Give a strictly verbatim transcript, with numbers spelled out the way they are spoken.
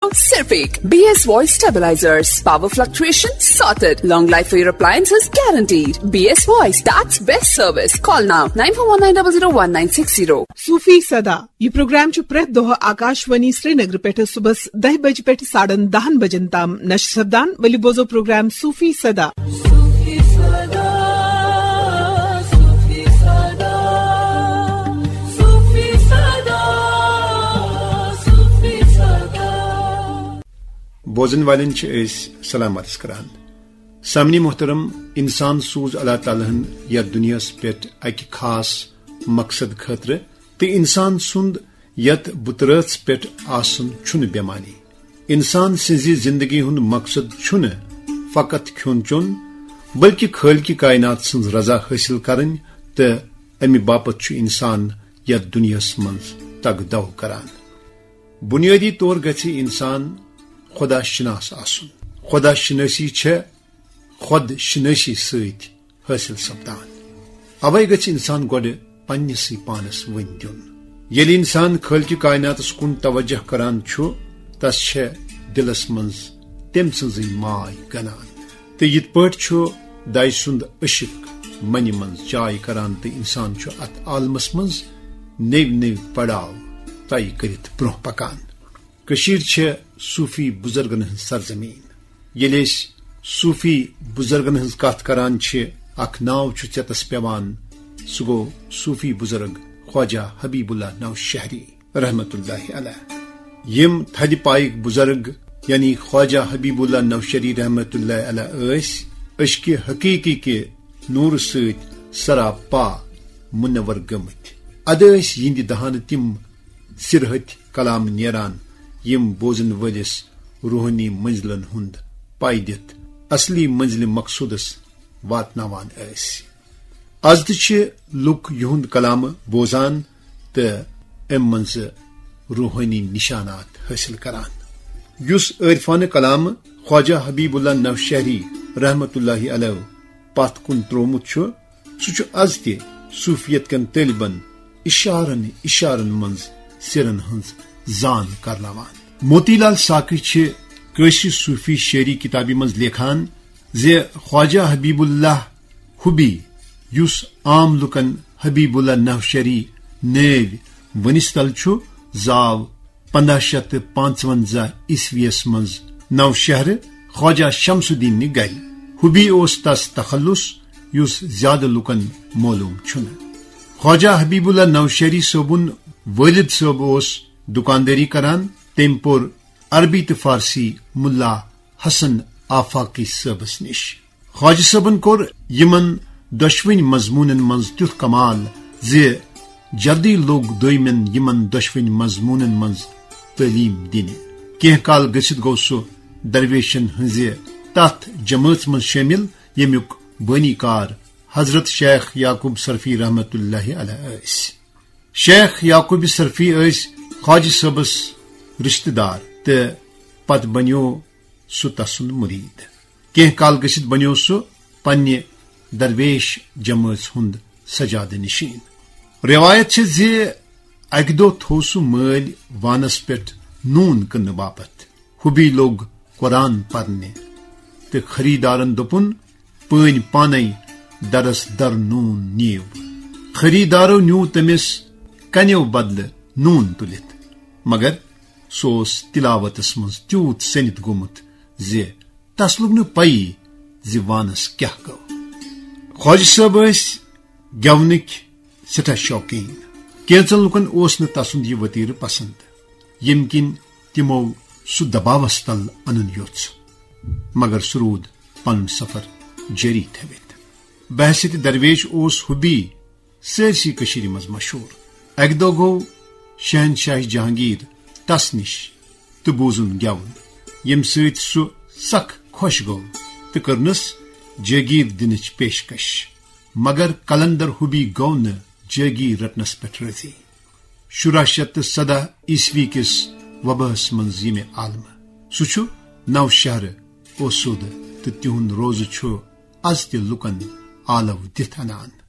صرف ایک B S voice stabilisers, power fluctuation sorted, long life for your appliances guaranteed. B S voice, that's best service. Call now nine four one nine double zero one nine six zero. صوفی صدا۔ یہ programme چھُ پرٛٮ۪تھ دۄہ آکاشوانی سرینگر پٮ۪ٹھٕ صُبحس دَہہِ بجہِ پٮ۪ٹھٕ ساڑن دَہن بجن تام نشر سپدان۔ ؤلِو بوزو پروگرام صوفی صدا۔ بوزن والٮ۪ن چھِ أسۍ سلام عرض کران۔ سامعین محترم، انسان سوز اللہ تعالیٰ ہن یتھ دنیاہس پٮ۪ٹھ اکہِ خاص مقصد خٲطرٕ، تہٕ انسان سُنٛد یتھ بُترٲژ پٮ۪ٹھ آسُن چھُنہٕ بے معنی۔ انسان سٕنٛزِ زندگی ہُنٛد مقصد چھُنہٕ فقط کھیوٚن چیوٚن، بلکہ خالقِ کائنات سٕنٛز رضا حٲصِل کرٕنۍ، تہٕ امہِ باپتھ چھُ انسان یتھ دنیاہس منٛز تگ دو کران۔ بنیٲدی طور گژھِ انسان خدا شناس آسُن۔ خدا شناسی چھےٚ خود شناسی سۭتۍ حٲصِل سپدان۔ اوے گژھِ انسان گۄڈٕ پننِسٕے پانس ؤنۍ دیُن۔ ییٚلہِ انسان خالقِ کائناتس کُن توجہ کران چھُ، تس چھےٚ دلس منٛز تٔمۍ سٕنٛزٕے ماے گنان۔ تہٕ یِتھ پٲٹھۍ چھُ داے سُنٛد عشق منہِ منٛز جاے کران تہٕ انسان چھُ اتھ عالمس منٛز نٔوۍ نٔوۍ پڑاو طے کٔرِتھ برونٛہہ پکان۔ کٔشیٖر چھےٚ صوٗفی بُزرگن ہٕنٛز سرزمیٖن۔ ییٚلہِ أسۍ صوٗفی بُزرگن ہٕنٛز کتھ کران چھِ، اکھ ناو چھُ ژیتس پٮ۪وان، سُہ گوٚو صوٗفی بُزرگ خواجہ حبیب اللہ نوشہری رحمتہ اللہ علیہ۔ یِم تھدِ پایِکۍ بُزرگ یعنی خواجہ حبیب اللہ نوشہری رحمتہ اللہ علیہ ٲسۍ عشقِ حقیقی کہِ نوٗرٕ سۭتۍ سراپا منور گٔمٕتۍ۔ ادٕ ٲسۍ یِہنٛدِ دہانہٕ تِم سِرہٕتۍ کلام نیران، یِم بوزن وٲلِس روحٲنی منزلن ہُنٛد پاے دِتھ اصلی منزلِ مقصودس واتناوان ٲسۍ۔ از تہِ چھِ لُکھ یِہُنٛد کلام بوزان تہٕ امہِ منٛزٕ روحٲنی نشانات حٲصِل کران۔ یُس عٲرفانہٕ کلام خواجہ حبیب اللہ نوشہری رحمتہ اللہ علیہ پتھ کُن تروومُت چھُ، سُہ چھُ از تہِ صوفیت کٮ۪ن طٲلبن اشارن اشارن منٛز سِرن ہٕنٛز زان کرناوان۔ موتی لال ساقی چھِ کٲشرِ صوفی شٲعری کتابہِ منٛز لیکھان زِ خواجہ حبیب اللہ حبی، یُس عام لوٗکن حبیب اللہ نوشہری نٲوۍ ؤنِس تل چھُ، زاو پندہ شیتھ تہٕ پانٛژونزہ عیسویس منٛز نوشہرٕ خواجہ شمس الدینہِ گرِ۔ حبی اوس تس تخلص، یُس زیادٕ لوٗکن معلوم چھُنہٕ۔ خواجہ حبیب اللہ نوشہری صٲبُن والد صٲب اوس دُکاندٲری کران۔ تٔمۍ پوٚر عربی تہٕ فارسی ملا حسن آفاقی صٲبس نِش۔ خواجہ صٲبن کوٚر یِمن دۄشوٕنۍ مضموٗنن منٛز تیُتھ کمال زِ جلدی لوٚگ دوٚیمٮ۪ن یِمن دۄشوٕنۍ مضموٗنن منٛز تعلیٖم دِنہِ۔ کینٛہہ کال گٔژھِتھ گوٚو سُہ درویشن ہٕنٛزِ تتھ جمٲژ منٛز شٲمِل، ییٚمیُک بٲنی کار حضرت شیخ یعقوب صرفی رحمتہ اللہ علیہ ٲسۍ۔ شیخ یعقوب صرفی ٲسۍ خواجہ صٲبس رشتہٕ دار تہٕ پتہٕ بنیوو سُہ تسُنٛد مُریٖد۔ کینٛہہ کال گٔژھِتھ بنیوو سُہ پننہِ درویش جمٲژ ہُنٛد سجادٕ نشین۔ رٮ۪وایت چھےٚ زِ اکہِ دۄہ تھوو سُہ مٲلۍ وانس پٮ۪ٹھ نوٗن کٕننہٕ باپتھ۔ حبی لوٚگ قرآن پرنہِ تہٕ خریدارن دوٚپُن، "پٲنۍ پانے درس در نوٗن نِیِو۔" خریدارو نیوٗ تٔمِس کنیو بدلہٕ نوٗن تُلِتھ، مگر سُہ اوس تلاوتس منٛز تیوٗت سٔنِتھ گوٚمُت زِ تس لوٚگ نہٕ پَیی زِ وانس کیٛاہ گوٚو۔ خواجہ صٲب ٲسۍ گٮ۪ونٕکۍ سٮ۪ٹھاہ شوقیٖن۔ کینٛژن لوٗکن اوس نہٕ تسُنٛد یہِ ؤتیرٕ پسند، ییٚمہِ کِنۍ تِمو سُہ دباوس تل انُن یوٚژھ، مگر سُہ روٗد پنُن سفر جٲری تھٲوِتھ۔ بحیثیت درویش اوس حبی سٲرسٕے کٔشیٖرِ منٛز مشہوٗر۔ اکہِ دۄہ گوٚو شہنشاہ جہانگیر تس نِش تہٕ بوٗزُن گٮ۪وُن، ییٚمہِ سۭتۍ سُہ سخ خۄش گوٚو تہٕ کٔرنس جٲگیٖر دِنٕچ پیشکش۔ مگر قلندر حبی گوٚو نہٕ جٲگیٖر رٹنس پٮ۪ٹھ رٲضی۔ شُراہ شیتھ تہٕ سداہ عیسوی کِس وباہس منٛز ییٚمہِ عالمہٕ۔ سُہ چھُ نوشہرٕ اوسوٗدٕ تہٕ تِہُنٛد روزٕ چھُ از تہِ لوٗکن آلو دِتھ انان۔